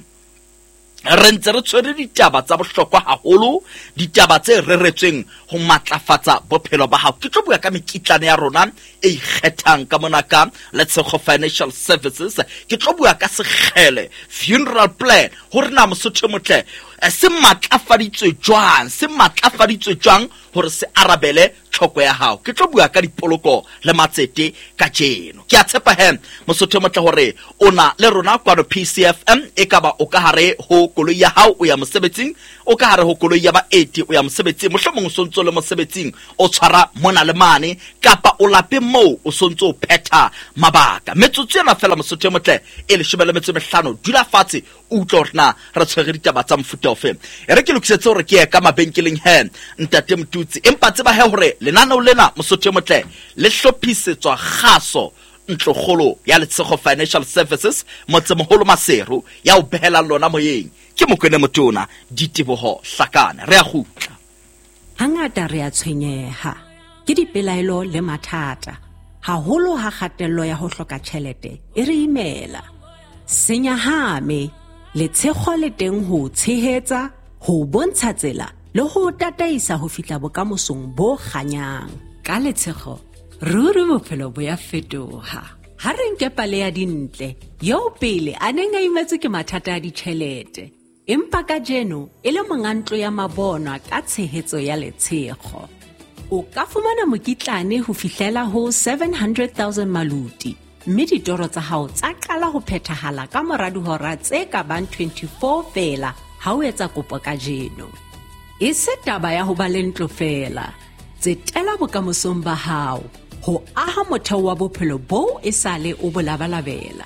re ntse re tshwere ditaba tsa bohlokwa haholo, ditaba tse reretsweng ho matlafatsa bophelo ba hao. Ke tlo bua ka mekitlane ya rona e ikgethang ka mona ka Letshego Financial Services. Ke tlo bua ka sekgele funeral plan, hore na Mosotho e motle se matlafaditswe jwang, se matlafaditswe jwang hore se arabele tlhoko ya hao. Ke tlo bua ka dipoloko le matsete kajeno. Ke a tshepa he Mosotho e motle hore o na le rona kwano PCFM. E ka ba o ka hare ho koloi ya hao o ya mosebetsing, o ka hare ho koloi ya baeti o ya mosebetsing, mohlomong o sontso le mosebetsing o tshwara mona le mane, kapa o lapeng moo o sontso o phetha mabaka. Metsotso ena fela Mosotho e motle e 15, dula fatshe o utlwe hore na re tshwere ditaba tsa mofuta ofe. E re ke lokisetse hore ke ye ka mabenkeleng he ntate Motutsi, empa tseba he hore lenaneo lena Mosotho e motle le hlophisetswa kgaso ntlokgolo ya Letshego Financial Services motsemoholo Maseru, ya o behelang lona moyeng ke Mokwene Motona Diteboho Hlakane. Re a kgutla. Hangata re a tshwenyeha ke dipelaelo le mathata, haholo ha kgatello ya ho hloka tjhelete e re imela. Senyahame, Letshego le teng ho tshehetsa, ho bontsha tsela le ho tataisa ho fihla bokamosong bo kganyang. Ka Letshego, ruri bophelo bo ya fetoha. Ha re nke pale ya Dintle, eo pele a neng a imetswe ke mathata a ditjhelete, empa kajeno e le monga ntlo ya mabonwa ka tshehetso ya Letshego. O ka fumana mokitlane ho fihlela ho 700,000 maluti, mme ditoro tsa hao tsa qala ho phethahala ka mora dihora tse ka bang 24 feela ha o etsa kopo kajeno. E se taba ya ho ba le ntlo feela, tsetela bokamosong ba hao, ho aha motheo wa bophelo boo e sale o bo labalabela.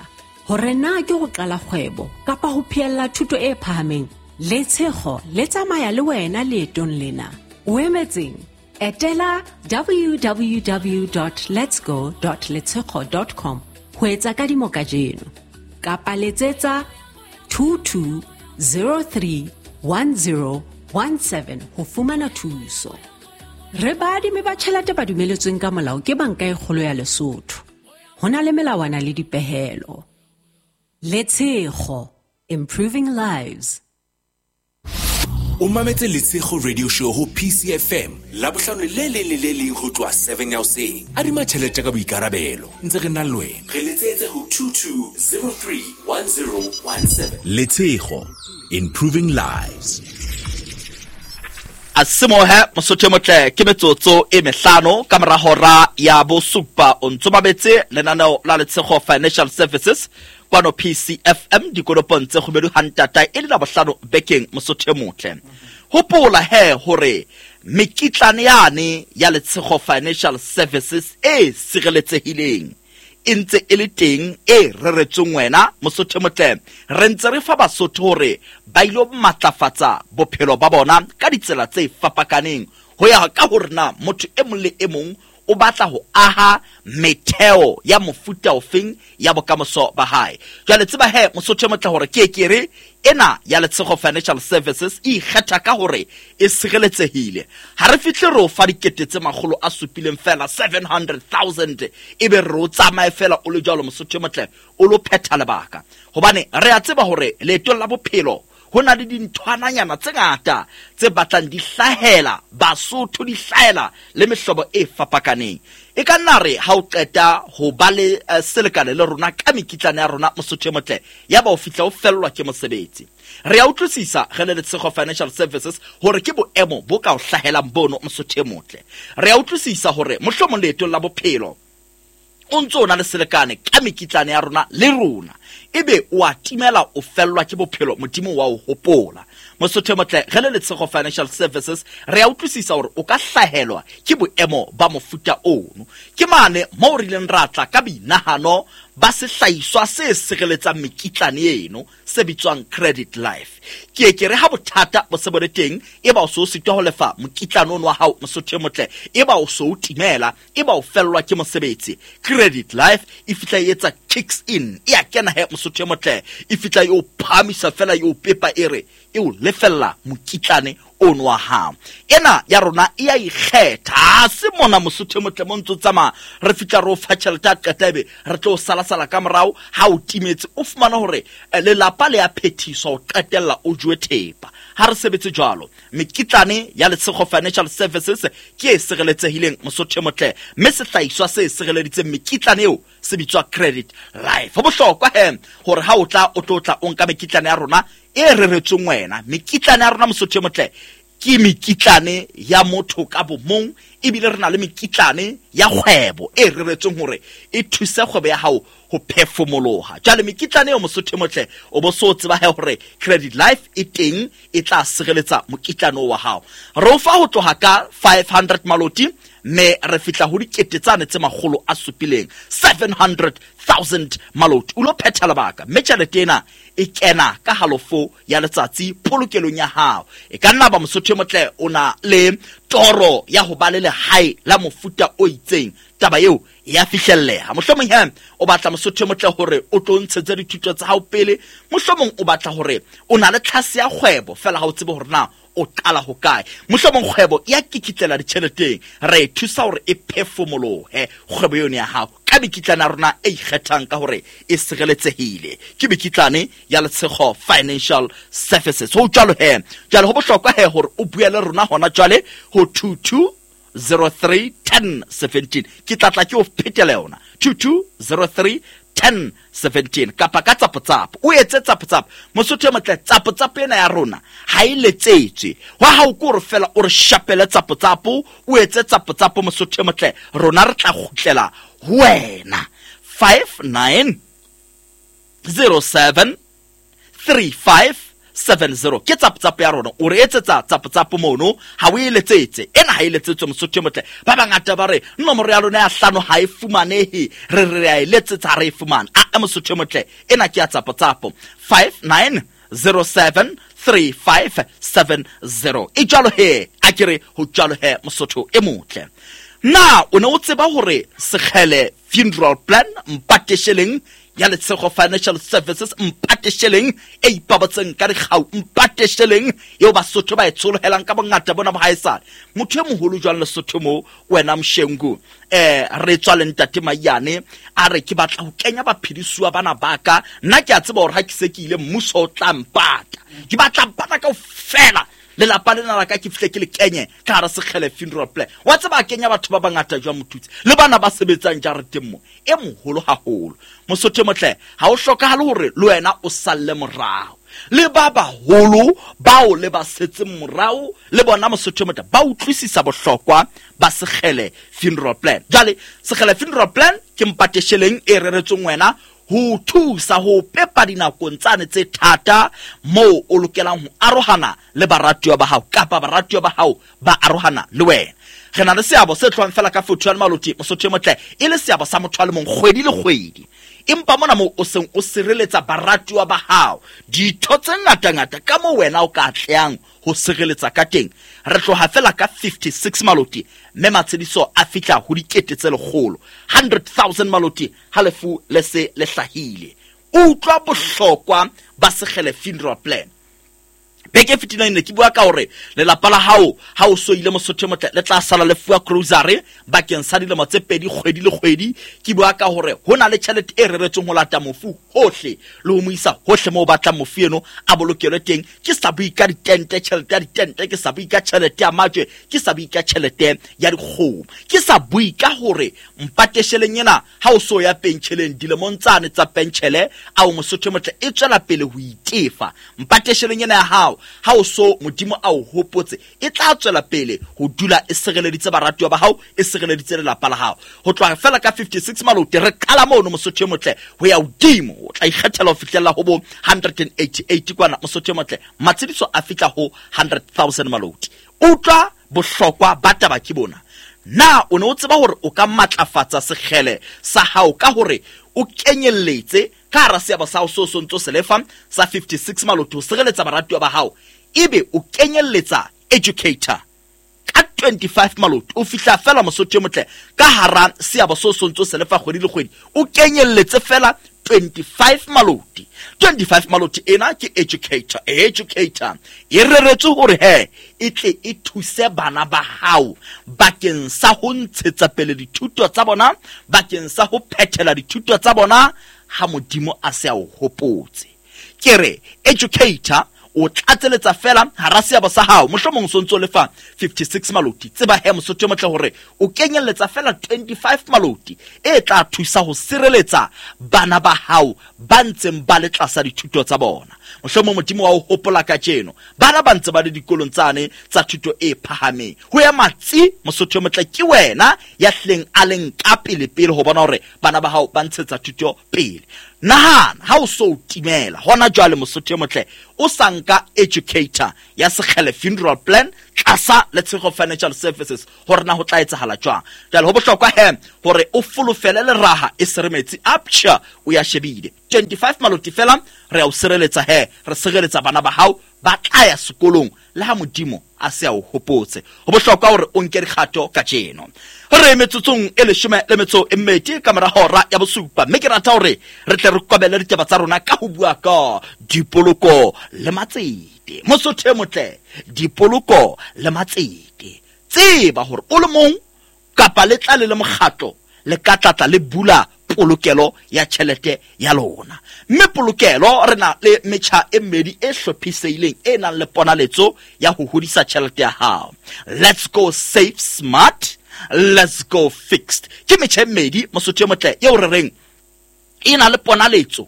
Hore na ke ho qala kgwebo kapa ho phehella thuto e phahameng, Letshego le tsamaya le wena leetong lena. O emetseng? Etela www.letsgo.letshego.com ho etsa kadimo kajeno, kapa letsetsa 22031017 ho fumana thuso. Re baadimi ba tjhelete ba dumeletsweng ka molao ke Banka e Kgolo ya Lesotho. Ho na le melawana le dipehelo. Letshego, improving lives. O mametse Letshego Radio Show ho PCFM Labohlano le leng le le leng ho tloha 7 ya hoseng. Adima tjhelete ka boikarabelo, ntse re na le wena. Re letsetse ho 22031017. Letshego, improving lives. A simohe Mosotho e motle ke metsotso e mehlano ka mora hora ya bosupa. O ntso mametse lenaneo la Letshego Financial Services kwano PCFM dikoropong tse kgubedu hantata e le Labohlano bekeng Mosotho e motle. Hopola he hore mekitlane yane ya Letshego Financial Services e sireletsehileng e ntse e le teng e reretsweng wena Mosotho e motle. Re ntse re fa Basotho hore ba ilo matlafatsa bophelo ba bona ka ditsela tse fapakaneng ho ya ka hore na motho e mong le e mong o batla ho aha metheo ya mofuta ofeng ya bokamoso ba hae. Jwale tseba he Mosotho e motle hore ke ke re ena ya Letshego Financial Services e ikgetha ka hore e sireletsehile. Ha re fihle re o fa dikete tse 700 fela, 700,000, ebe re o tsamaye fela o le jwalo Mosotho e motle o lo phetha lebaka. Hobane re a tseba hore leetong la bophelo Ho na le dinthwananyana tse ngata tse batlang di hlahela Basotho, di hlahela le mehlobo e fapakaneng. E ka nna re ha o qeta ho ba le selekane le rona ka mekitlane ya rona, Mosotho e motle, ya ba o fihla o fellwa ke mosebetsi. Re a utlwisisa re le Letshego Financial Services hore ke boemo bo ka o hlahelang bono, Mosotho e motle. Re a utlwisisa hore mohlomong leetong la bophelo o ntse o na le selekane ka mekitlane ya rona le rona, ebe o a timela, o fellwa ke bophelo, Modimo wa o hopola. Mosotho e motle, re le Letshego Financial Services re a utlwisisa hore o ka hlahelwa ke boemo ba mofuta ono. Ke mane moo re ileng ra tla ka boinahano ba sehlahiswa se sireletsang mekitlane eno se bitswang Credit Life. Ke e ke re ha bothata bo se bo le teng, eba o se o sitwa ho lefa mokitlane ono wa hao, Mosotho e motle, eba o se o timela, eba o fellwa ke mosebetsi, Credit Life e fihla e etsa kicks in, e a kena he, Mosotho e motle, e fihla e o phahamisa fela, e o pepa, e re e o lefella mokitlane ono wa hao. Ena ya rona e a ikgetha, ha se mona, Mosotho e motle, mo ntse o tsamaya re fihla re o fa tjhelete, a qeta ebe re tlo salasala ka morao ha o timetse, o fumana hore lelapa le a phethiswa, o qetella o jowe thepa. Ha re sebetse jwalo. Mekitlane ya Letshego Financial Services ke e sireletsehileng, Mosotho e motle, mme sehlahiswa se sireleditseng mekitlane eo se bitswa Credit Life. Ho bohlokwa he hore ha o tla o tlo tla o nka mekitlane ya rona e reretsweng wena. Mekitlane ya rona, Mosotho e motle, ke mekitlane ya motho ka bomong, ebile re na le mekitlane ya kgwebo e reretsweng hore e thuse kgwebo ya hao ho phefumoloha. Jwale mekitlane eo, Mosotho e motle, o bo so tseba he hore Credit Life e teng, e tla sireletsa mokitlane wa hao. Re o fa ho tloha ka 500 maloti, mme re fihla ho 700,000, 700,000 maloti. O lo phetha lebaka, mme tjhelete ena e kena ka halofo ya letsatsi polokelong ya hao. E ka nna ba, Mosotho e motle, o na le toro ya ho ba le lehae la mofuta o itseng, taba eo ya fihlelleha. Mohlomong he o batla, Mosotho e motle, hore o tlo ntshetse dithuto tsa hao pele, mohlomong o batla hore o na le tlhase ya kgwebo fela ha o tsebe hore na o qala ho kae, mohlomong kgwebo ya kikitlela ditjheleteng, re e thusa hore e phefumolohe kgwebo yone ya hao ka mekitlane ya rona e ikgethang ka hore e sireletsehile. Ke mekitlane ya Letshego Financial Services. Ho jwalo he, jwale ho bohlokwa he hore o bue le rona hona jwale ho 22 03 10 17. Ke tlatla ke o phetela yona, 22 03 10 17, kapa ka tsapotsapo o etse tsapotsapo. Mosotho e motle, tsapotsapo ena ya rona ha e letsetswe wa hao, ke hore fela o re shapele tsapotsapo, o etse tsapotsapo, Mosotho e motle, rona re tla kgutlela ho wena. 59 07 35 70 ke tsapotsapo ya rona. O re etsetsa tsapotsapo mono, ha o e letsetse ena, ha e letsetswe, Mosotho e motle. Ba bangata ba re nomoro ya lona ya hlano ha e fumanehe, re re a e letsetsa, ha re e fumane. A Mosotho e motle, ena ke ya tsapotsapo, 59 07 3570. E jwalo he, a ke re ho jwalo he, Mosotho e motle. Na o ne o tseba hore Sekgele Funeral Plan, mpatesheleng ya Letshego Financial Services, mpatesheleng e ipabotseng ka dikgau, mpatesheleng eo Basotho ba e tsholohelang ka bongata bona bo haesale, motho e moholo jwang Lesotho mo, wena Mshengu, re tswa le ntate Maiyane, a re ke batla ho kenya baphedisuwa bana baka, nna ke a tseba hore ha ke se ke ile mmuso o tla mpata, ke batla bana kaofela, lelapa lena la ka ke fihle ke le kenye ka hara Sekgele Funeral Plan. Wa tseba a kenya batho ba bangata jwang, mothutse le bana ba sebetsang jareteng mo. E moholo haholo, Mosotho e motle, ha o hlokahale hore le wena o salle morao. Le ba baholo bao le ba setseng morao le bona, Mosotho e motle, ba utlwisisa bohlokwa ba Sekgele Funeral Plan. Jwale Sekgele Funeral Plan ke mpatesheleng e reretsweng wena ho thusa ho pepa dinakong tsane tse thata moo o lokelang ho arohana le baratuwa ba hao, kapa baratuwa ba hao ba arohana le wena. Re na le seabo se tlohang fela ka 41 maloti, Mosotho e motle, e le seabo sa motho a le mong kgwedi le kgwedi, empa mona moo o seng o sireletsa baratuwa ba hao, ditho tse ngatangata ka moo wena o ka atlehang ho sireletsa ka teng. Re tloha fela ka 56 maloti, mme matshediso a fihla ho 100,000, 100,000 maloti ha lefu le se le hlahile. Utlwa bohlokwa ba Sekgele Funeral Plan. Beke e fetileng ne ke bua ka hore lelapa la hao ha o so ile, Mosotho e motle, le tla sala le fuwa grocery bakeng sa dilemo tse pedi kgwedi le kgwedi. Ke bua ka hore ho na le tjhelete e reretsweng ho lata mofu hohle le ho mo isa hohle moo o batlang mofu eno a bolokelwe teng. Ke sa bue ka ditente, tjhelete ya ditente, ke sa bue ka tjhelete ya majwe, ke sa bue ka tjhelete ya dikgomo, ke sa bue ka hore mpatesheleng ena ha o so ya pentjheleng dilemong tsane tsa pentjhele ao, Mosotho e motle, e tswela pele ho itefa. Mpatesheleng ena ya hao ha o so Modimo a o hopotse, e tla tswela pele ho dula e sireleditse baratuwa ba hao, e sireleditse lelapa la hao. Ho tloha fela ka 56 malote re qala mono, Mosotho e motle, ho ya hodimo. O tla ikgethela ho fihlella ho bo 188 kwana, Mosotho e motle, matshediso a fihla ho 100,000 maloti. Utlwa bohlokwa ba taba ke bona. Na o ne o tseba hore o ka matlafatsa sekgele sa hao ka hore o kenyelletse ka hara seabo sa hao seo so ntso se lefa sa 56 maloti ho sireletsa baratuwa ba hao, ebe o kenyelletsa educator ka 25 maloti? O fihla fela, Mosotho e motle, ka hara seabo seo so ntso se lefa kgwedi le kgwedi, o kenyelletse fela 25 maloti. 25 maloti ena ke educator. Educator e reretswe hore he e tle e thuse bana ba hao bakeng sa ho ntshetsa pele dithuto tsa bona, bakeng sa ho phethela dithuto tsa bona ha Modimo a se a o hopotse. Ke re educator o tlatseletsa fela hara seabo sa hao, mohlomong so ntso lefa 56 maloti. Tseba he, Mosotho e motle, hore o kenyelletsa fela 25 maloti e tla thusa ho sireletsa bana ba hao ba ntseng ba le tlasa dithuto tsa bona. Mohlomong Modimo wa o hopola kajeno, bana ba ntse ba le dikolong tsane tsa thuto e phahameng, ho ya matsi, Mosotho e motle, ke wena ya hleng a leng ka pele pele ho bona hore bana ba hao ba ntshetsa thuto pele. Nahana ha o so o timela hona jwale, Mosotho e motle, o sa nka educator ya Sekgele funeral plan tlasa Letshego Financial Services, hore na ho tla etsahala jwang. Jwale ho bohlokwa he hore o folofele leraha e se re metsi a psha o ya shebile. 25 maloti fela, re a o sireletsa he, re sireletsa bana ba hao ba tla ya sekolong le ha Modimo a se a o hopotse. Ho bohlokwa hore o nke dikgato kajeno. Re metsotsong e 12 ka mora hora ya bosupa, mme ke rata hore re tle re kobele ditaba tsa rona ka ho bua ka dipoloko le matsete. Mosotho e motle, dipoloko le matsete, tseba hore o le mong kapa le tla le le mokgatlo le ka tlatla le bula polokelo ya tjhelete ya lona. Mme polokelo re na le metjha e mmedi e hlophisehileng e nang le ponaletso ya ho hodisa tjhelete ya hao. Let's go save smart, let's go fixed. Ke metjha e mmedi, Mosotho e motle, eo re reng e na le ponaletso,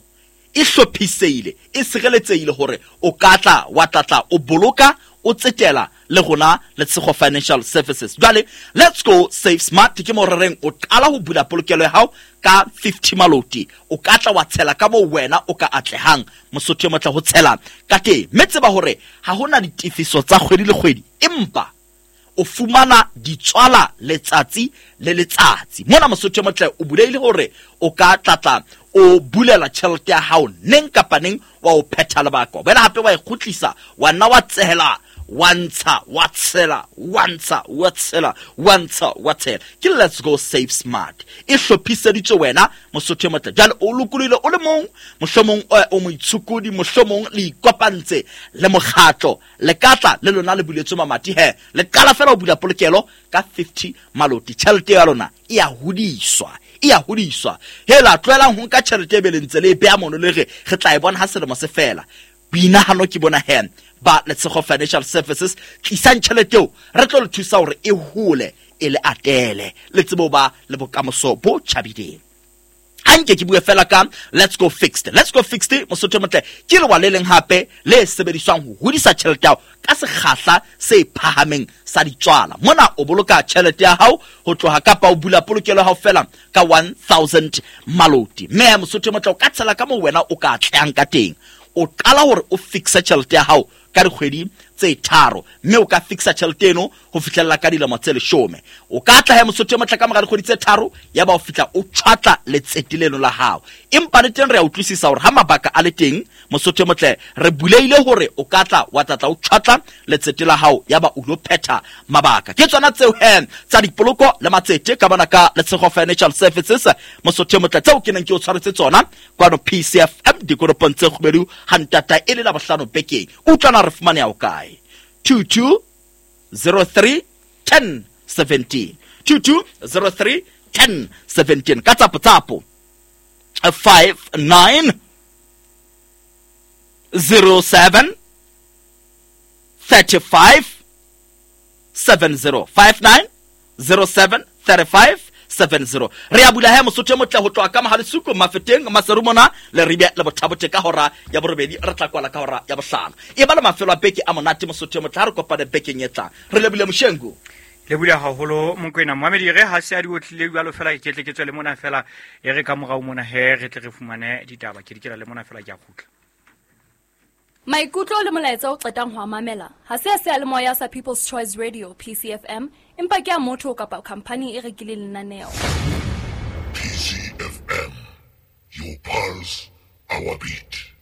e hlophisehile, e sireletsehile hore o ka tla wa tlatla o boloka, o tsetela le rona Letshego Financial Services. Jwale let's go save smart ke mo re reng o qala ho bula polokelo ya hao ka 50 maloti. O ka tla wa tshela ka moo wena o ka atlehang, Mosotho e motle, ho tshela ka teng. Mme tseba hore ha hona ditefiso tsa kgwedi le kgwedi, empa o fumana ditswala letsatsi le letsatsi. Mona, Mosotho e motle, o bulehile hore o ka tlatla o bulela tjhelete ya hao neng kapa neng, wa o phetha lebaka, wena hape wa e kgutlisa, wa nna wa tsehela, wa ntsha, wa tshela, wa ntsha, wa tshela, wa ntsha, wa tshela. Ke let's go save smart, e hlophiseditswe wena, Mosotho e motle. Jwale o lokolohile o le mong, mohlomong o moitshokodi, mohlomong le ikopantse le mokgatlo, le ka tla le lona le buletswe mamati he. Le qala fela ho bula polokelo ka 50 maloti, tjhelete ya lona e ya hodiswa, e ya hodiswa. Hela, tlohelang ho nka tjhelete e be le ntse le e beha mono, le re re tla e bona ha selemo se fela. Boinahano ke bona he ba Letshego Financial Services. Tlisang tjhelete eo, re tlo le thusa hore e hole, e le atele, le tsebe ho ba le bokamoso bo tjhabileng. Anke ke bue fela ka let's go fixed. Let's go fixed, Mosotho e motle, ke lewa le leng hape le sebediswang ho hodisa tjhelete ya hao ka sekgahla se phahameng sa ditswala. Mona o boloka tjhelete ya hao ho tloha kapa o bula polokelo ya hao fela ka 1000 maloti. Mme Mosotho e motle, o ka tshela ka moo wena o ka atlehang ka teng. O qala hore o fixe tjhelete ya hao ka dikgwedi tse tharo, mme o ka fixa tjhelete eno ho fihlella ka dilemo tse 10. O ka tla he Mosotho e motle ka mora dikgwedi tse tharo, ya ba o fihla o tjhwatla letsete leno la hao. Empa le teng re a utlwisisa hore ha mabaka a le teng, Mosotho e motle, re buleile hore o ka tla wa tlatla o tjhwatla letsete la hao, ya ba o lo phetha mabaka. Ke tsona tseo he tsa dipoloko le matsete ka bona ka Letshego Financial Services, Mosotho e motle, tseo ke neng ke o tshwaretse tsona kwano PCFM dikoropong tse kgubedu ha ntata e le la bohlano bekeng. Utlwana re fumaneha ho kae? 2203 10 17, 2203 10 17, ka tsapo tsapo 59 07 35 70, 59 07 35 70. Re a bula he Mosotho e motle ho tloha ka Mohalesuku, Mafeteng, Maserumona, Leribe le Bothabote ka hora ya borobedi, re tla kwala ka hora ya bohlano. E ba le mafelo a beke a monate Mosotho e motle, ha re kopane bekeng e tlang. Re lebile Moshengu. Le bula haholo Mokwena. Moamedi re ha se a di otlile jwalo fela, ke tle ke tswe le mona fela, e re ka morao mona he re tle re fumane ditaba. Ke dikela le mona fela, ke a kgutla. Maikutlo le molaetsa o qetang ho a mamela ha se a seyalemoya sa People's Choice Radio PCFM, empa ke a motho kapa khamphani e rekileng lenaneo. PCFM, your pulse, our beat.